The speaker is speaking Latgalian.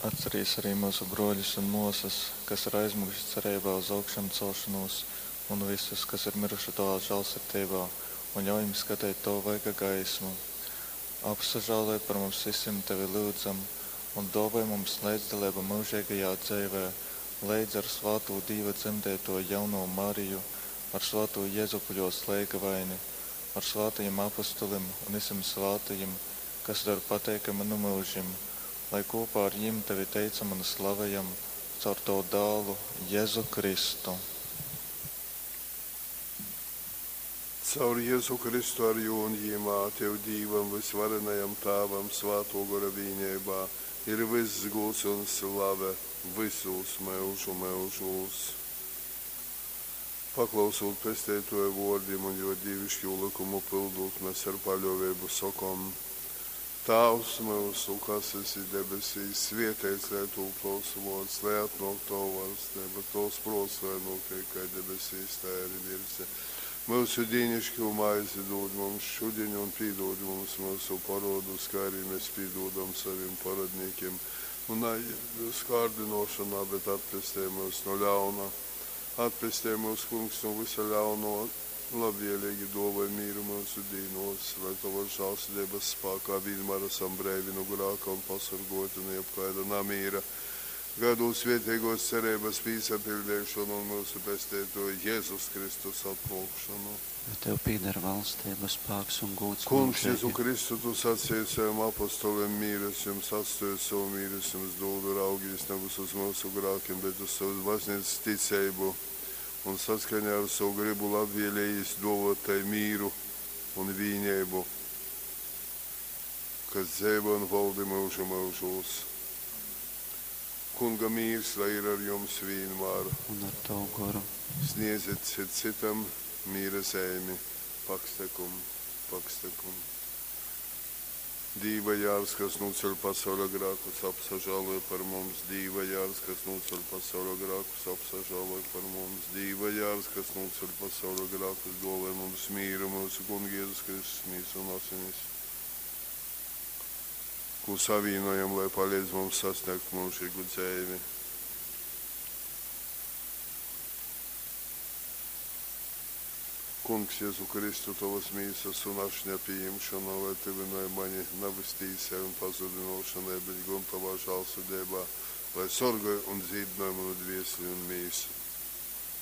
Atcerīs arī myusu brōļus un mōsas, kas ir aizmiguši cereibā uz augšamcelšonūs, un vysus, kas ir myruši Tovā žālsirdeibā, un ļauj jim skateit Tova vaiga gaismu. Apsažāloj par mums vysim, Tevi lyudzam, un dōvoj mums leidzdaleibu myužeigajā dzeivē, leidz ar svātū Dīva dzemdeitōju jaunovu Mariju, ar svātū Jezupu jōs leigavaini, ar svātajim apostolim un vysim svātajim, kas tev ir pateikami nu myužim, lai kopā ar jim tevi teicam un slavejam caur tavu dālu Jēzu Kristu. Caur Jezu Kristu ar jū un jymā, Tev Dīvam vysvarenajam Tāvam Svātō Gora vīneibā ir vyss gūds un slave vysūs myužu myužūs. Paklausūt Pesteitōja vōrdim un jō dīviškū lykumu pyldūt, mes ar paļōveibu sokom, Tāvs myusu, kas esi debesīs, svēteits lai tūp tovs vōrds, lai atnōk tova valsteiba, tovs prōts lai nūteik kai debesīs, tai arī virs zemes. Myusu dīnišķū maizi dūd mums šudiņ un pīdūd mums myusu parodus, kā arī mēs pīdūdam savim parodnīkiem. Un naieved myusu kārdinošanā, bet atpestej mūs no ļauna. Atpestej mūs, Kungs, no visa ļauno, labvēlīgi dāvāj mīru mūsu dīnos, lai tavas žēlsirdības spēkā vienmēr esam breivi no grāka un pasargoti no jebkāda namīra. Gaidot svētīgos cerības pīsapildīšanu un mūsu pestītoja Jēzus Kristus atnākšanu. Jo tev pieder valstība, spēks un gūds Kungs, mūžīgi. Jēzu Kristu, tu sacīji saviem apostoliem, mīres jums atstāju savu mīres jums dodu, raugīs nevis uz mūsu grākiem, bet uz savas baznīcas ticību un saskaņā ar savu gribu labvēlējis dovot tai mīru un vīnību, kas dzīvo un valdi mūžu mūžos. Kunga mīrs, lai ir ar jums vienmēr. Un ar tavu goru. Sniedziet cit citam mīra zemi, pakstekum, pakstekum. Dīva jārs, kas nuceļ pasaules grēkus, apsažāloja par mums. Dīva jārs, kas nuceļ pasaules grēkus, apsažāloja par mums. Dīva jārs, kas nuceļ pasaules grēkus, dāvāj mums mīru, mūsu Kunga Jēzus Kristus mīsu un asinis. Ko savienojam, lai palīdz mums sasniegt mūžīgu dzīvi. Kungs, Jēzu Kristu, tavas mīsas un ašņa pieņemšana, lai tuvināja mani nevis tīsai un pazudinošanai, bet gan tavā žālsirdībā, lai sorgāja un dzīdināja manu dvieseli un mīsu.